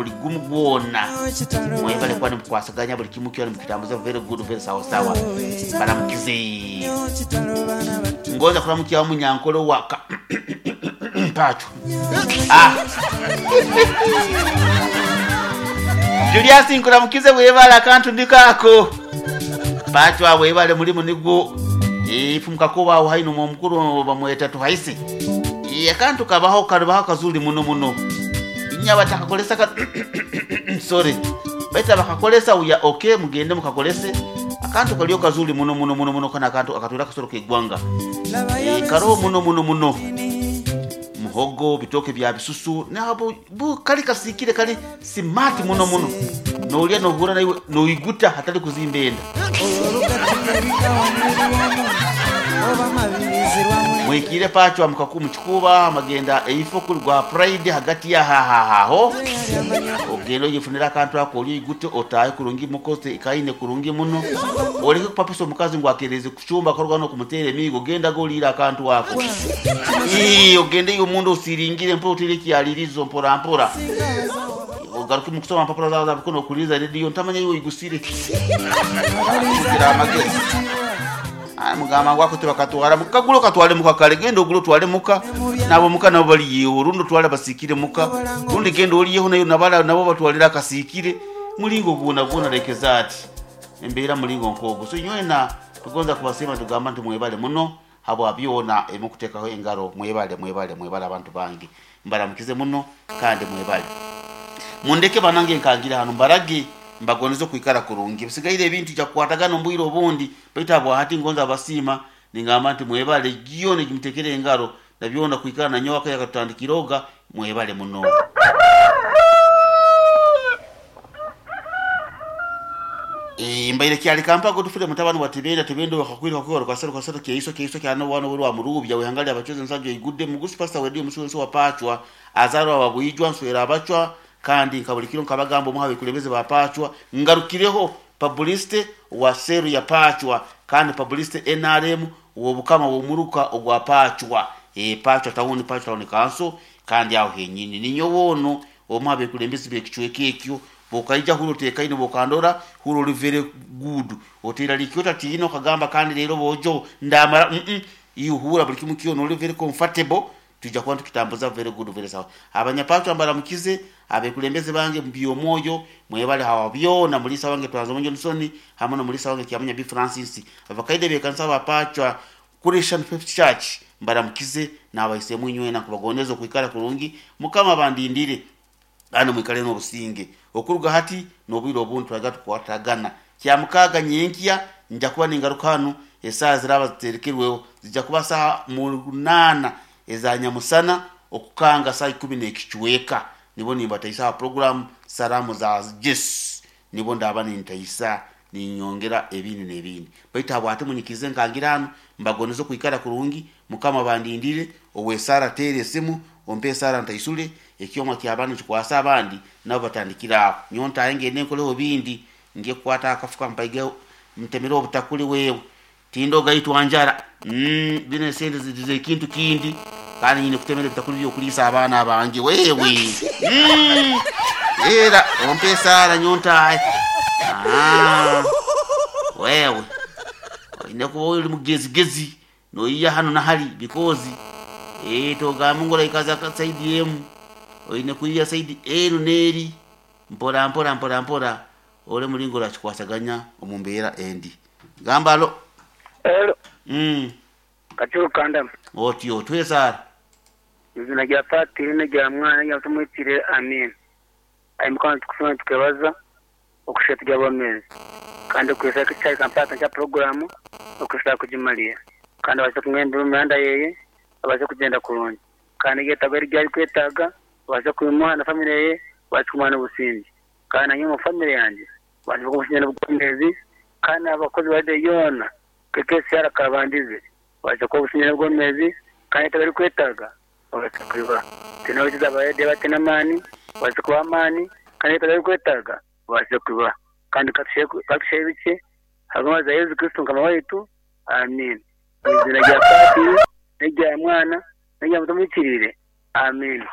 buli gumu gwona. Mwebale kuba nimukwasaganya buli kimu kyona nimukitambuza very good very sawa sawa. Mbaramukize. Ngonza kuramukyaho Munyankole owa ka Mpacho. Ah. Julius nkuramukize webale akantu ndiko ako. Mpacho webale mulimu nigwo. Ifu mukakuba aho haino omukuru bamweta Tuhaise. Akantu kabaho karubaho kazuri muno muno. Inya batakakolesa ka sorry. Baita bakakolesa uya okay mugende mukakolese. Akantu kaliyo kazuri muno muno muno muno kana akantu akatwira kasoro kegwanga. Karo muno muno muno. Muhogo bitoke bya bisusu nabo bu kali kasikire kali smart muno muno. Nolya nohura naiwe noiguta hatali kuzimbenda. Mwikire pachwa mukaku muchikuba amagenda eifo kuli gwa pride hagati ya hahahaho ogendo yifunira akantu ako oli igute otaye kurungi mukoze ikaine kurungi muno oleke kupapisa omukazi ngu akereze kuchumba korwa no kumutera emigo genda golira akantu ako. Ii ogende iyo mundu usiringire mpo utire kyalirizo mpora mpora. Ogaruke mu kusoma mpapura zawe zabukono kuliza radio ntamanya iyo igusire. Kugira amagezi. Mugamba ngwako tebakatwara mukagulo katwale muka kale genda ogulo twale muka nabo muka nabo baliyeho rundi twale basikire muka rundi genda oliyeho nayo nabala nabo batwalira akasikire mulingo gwona gwona lekeza ati embeera mulingo nkogo. So nywena tugonza kubasema tugamba nti mwebale muno habwa byona emukutekaho engaro mwebale mwebale mwebale abantu bangi mbaramukize muno kandi mwebale mundeke banange nkangira hano mbarage mbagonizo kuikara kurungi bisigaire ebintu kya kukwatagana ombwire obundi baitu abo hati ngonza abasiima ningamba nti mwebale gyona gimutekere engaro na byona kuikara na nyoka yakatutandikiroga mwebale muno. Mbaire kyali kampago tufire mutabani wa Tibenda Tibendo wakakwira kwa kasero kasero kyeiso kyeiso kyano wano wa murubya wehangali abachoze nsanjo igudde mugusi pastor wedio musuwenso wapachwa azarwa wabwijwa nswera abachwa kandi nkabulikiro nkabagamba omuhawe kulebeze bapachwa ngarukireho publicity wa seru ya pachwa kandi publicity NRM wobukama womuruka ogwa pachwa pachwa tawuni pachwa tawuni kanso kandi aho henyini ninyo wono omuhawe kulembeze bekichweke ekyo bokaija hulo tekaine bokandora hulo li very good otera likyota tino kagamba kandi lero bojo ndamara yuhura buli kimu kyo no very comfortable tujja kuba tukitambuza very good very sawa. Abanyapacho ambaramukize abekulembeze bange mbyo moyo mwebale hawa byona mulisa wange twanzo munjo nsoni hamwe no mulisa wange kyamanya bi Francis abakaide be kansa bapachwa Christian Faith Church mbaramukize nabaise munywe na kubagoneza kuikara kurungi mukama bandindire ano mwikale no businge okuruga hati nobwiro obuntu twaga tukwatagana kya mukaga nyenkiya nja kuba ningarukano esaa ziraba ziterekerweho zijja kuba saa 8 eza nyamusana okukanga saa 10 n'ekichweka nibo nimba program salamu za Jesu nibo ndaba nintaisa ninyongera ebindi n'ebindi baitu abo ate munyikize nkangirano mbagonezo kuikara kurungi mukama bandindire owesara tere esimu ompe sara ntaisule ekyoma kyabanu kikwasa abandi nabo batandikira aho nyonta aenge nenkoleho bindi nge kwata akafuka mpaige mtemero obutakuli wewe tindo gaitwa njara bine sente zidize kintu kindi kandi nyine kutemera bitakuli byo kulisa abana abange wewe era ompe sara nyonta wewe ine kuba uri mugezigezi noiya hano nahali because toga Mungu ikaza saidi yemu oine kuiya saidi enu neri mpora mpora mpora mpora ole mulingo la chikwasaganya omumbera endi gambalo hello kachuru kandam otyo twesara izina rya patiri n'rya mwana rya tumwitire amen. Ayi mukana tukusoma tukebaza okusheta ry'abamezi kandi kwesa kichai kampata cha programu okusha kujimalia kandi baze kumwenda imihanda yeye abaze kugenda kurungi kandi yetaga ryari kwetaga baze kuyimuha na family ye baze kumana ubusinzi kandi nanyo mu family yanjye baze kubusinya n'ubwomezi kandi abakozi bade yona kekesi yarakabandize baze kubusinya n'ubwomezi kandi yetaga kwetaga baze kuyiba tinojiza bayede batenamani baze kuba amani kandi yetaga kwetaga baze kuba kandi katushe bice hagama za Yesu Kristo kama waitu amen. Izina rya Patiri n'irya Mwana n'irya Mutumwikirire amen.